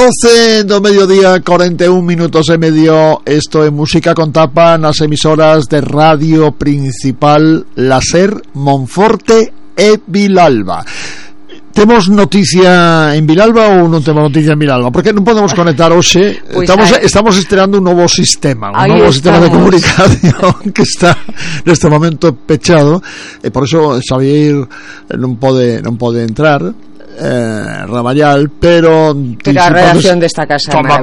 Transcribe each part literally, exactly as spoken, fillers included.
doce do mediodía, cuarenta y un minutos e medio. Esto é Música con Tapa nas emisoras de radio principal La Ser, Monforte e Vilalba. Temos noticia en Vilalba ou non temos noticia en Vilalba? Porque non podemos conectar hoxe. Pues estamos, estamos estrenando un novo sistema, un novo estamos. sistema de comunicación que está neste momento pechado, e por eso Xavier non pode non pode entrar. Eh, Raballal, pero pero a redacción desta casa toma,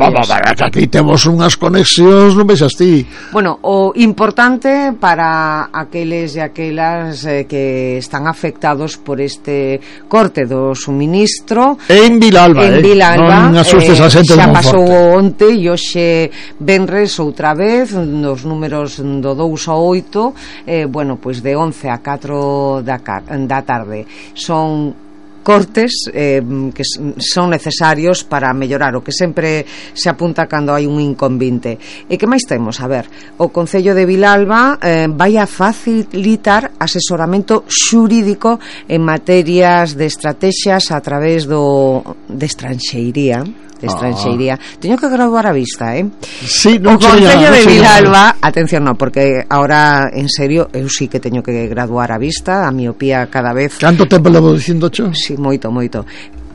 aquí temos unhas conexións, non vexas ti. Bueno, o importante para aqueles e aquelas eh, que están afectados por este corte do suministro en Vilalba, en eh? Vilalba, non asustes a xente, xa pasou onte e hoxe venres outra vez nos números do dous ao oito, eh, bueno, pois de once a catro da, da tarde son cortes eh, que son necesarios para mellorar o que sempre se apunta cando hai un inconvinte. E que máis temos? A ver, o Concello de Vilalba eh, vai a facilitar asesoramento xurídico en materias de estrategias a través do de estranxeiría de estranxeiría. Ah. Teño que graduar a vista, eh? Sí, non o Concello de Vilalba, atención, no, porque ahora, en serio, eu sí que teño que graduar a vista, a miopía cada vez. Canto tempo levo dicindo cho? Sí, moito, moito.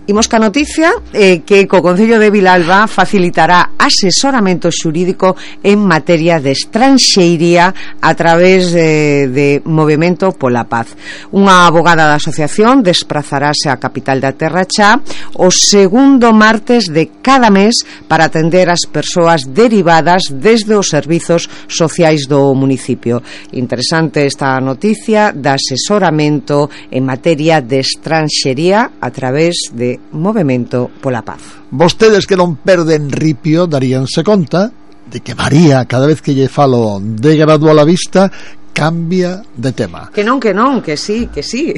Imos ca noticia eh, que co Concello de Vilalba facilitará asesoramento xurídico en materia de estranxeiría a través de, de Movemento pola Paz. Unha abogada da asociación desplazarase á capital da Terra Chá o segundo martes de cada mes para atender as persoas derivadas desde os servizos sociais do municipio. Interesante esta noticia de asesoramento en materia de estranxería a través de Movemento pola Paz. Vostedes que non perden ripio daríanse conta de que María, cada vez que lle falo de gradual a vista, cambia de tema. Que non, que non, que sí, que sí,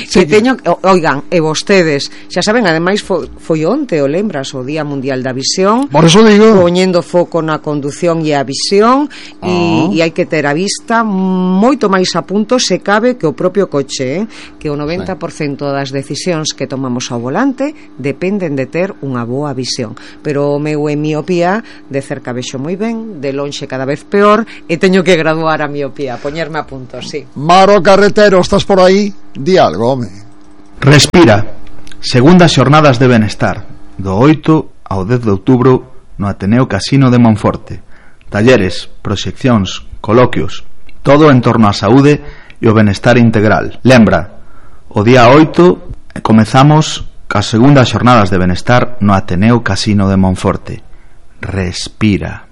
sí que teño, oigan, e vostedes xa saben, ademais foi, foi onte, o lembras, o Día Mundial da Visión. Por eso digo, poñendo foco na condución e a visión, e, oh. e hai que ter a vista moito máis a punto se cabe que o propio coche, eh? Que o noventa por cento das decisións que tomamos ao volante dependen de ter unha boa visión. Pero o meu é miopía, de cerca vexo moi ben, de lonxe cada vez peor, e teño que graduar a miopía, poñerme a punto, sí. Maro Carretero, estás por aí? Di algo, home. Respira. Segundas xornadas de benestar, do oito ao dez de outubro no Ateneo Casino de Monforte. Talleres, proxeccións, coloquios, todo en torno á saúde e o benestar integral. Lembra, o día oito comezamos cas segundas xornadas de benestar no Ateneo Casino de Monforte. Respira.